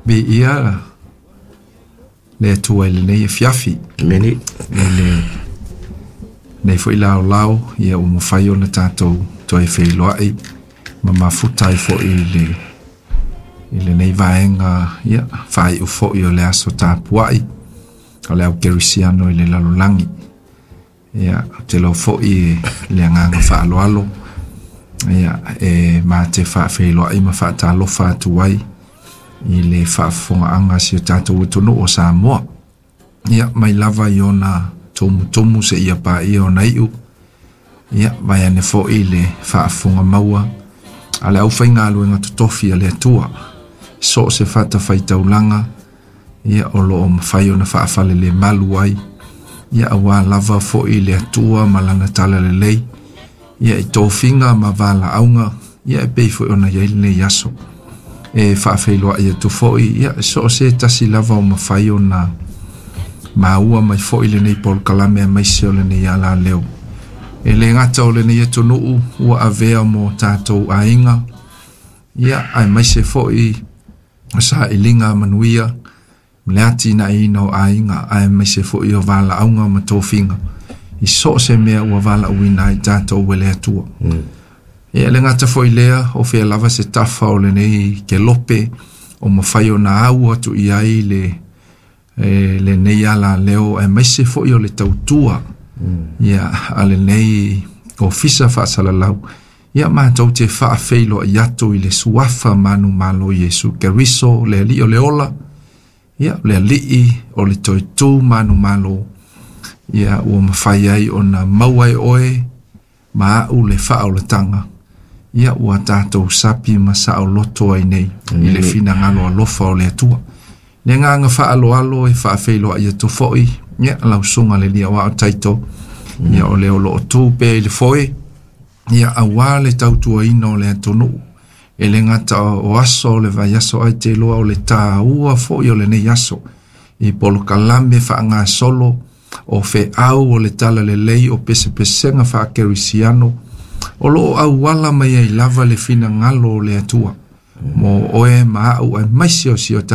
Viia le Atua i lenei afiafi. Amene. I lenei foi laolao, ia ua mafai ona tatou toe feiloai ma mafuta ai foi i lenei vaega, ia, faaiu foi o le aso tapuai o le au kerisiano i le lalolagi. Ia, ou te iloa foi e le agaga faaaloalo, ia, e ma te faafeiloai ma faatalofa atu ai i le faafofogaaga a si o tatou atunuu o Samoa. Ia, mai lava i ona tumutumu seia paia ona iu, ia, vaeane foi le faafofoga maua a le aufaigaluega totofi a le Atua. So o se fatafaitaulaga, ia, o lo o mafai ona faafalelemalu ai, ia, aua lava foi le Atua ma lana talalelei, ia, i tofiga ma valaauga, ia, e pei foi ona i ai lenei aso. E faafeiloai atu foi, ia, so o se tasi lava o mafai ona maua mai foi lenei polokalame aemaise o lenei alaleo. E le gata o lenei atunuu ua avea mo tatou aiga, ia, aemaise foi o sailiga manuia ma le atinaeina o aiga, aemaise foi o valaauga ma tofiga i so o se mea ua valaauina ai tatou e le Atua. Ia, e le gata foi lea, o fea lava se tafa o lenei kelope o mafai ona au atu i ai le lenei alaleo, aemaise foi o le tautua, ia, a lenei ofisa faasalalau, ia, matou te faafeiloai atu i le suafa manumalo Iesu Keriso, le Alii o le ola, ia, le Alii o le toetu manumalo, ia, ua mafai ai ona maua e oe ma au le faaolataga, ia, ua tatou sapi ma saoloto ai nei i le finagalo alofa o le Atua. Le agaga faaaloalo e faafeiloai atu foi, ia, lau susuga le alii aoao Taito, ia, o le o lo o tu pea i le foe, ia, aua le tautuaina o le atunuu. E le gata o aso o le vaiaso, ae te iloa o le taua foi o lenei aso i polokalame faagasolo o feau o le talalelei o pesepesega faakerisiano o lo o auala mai ai lava le finagalo o le Atua mo oe ma au aemaise o si o tatou.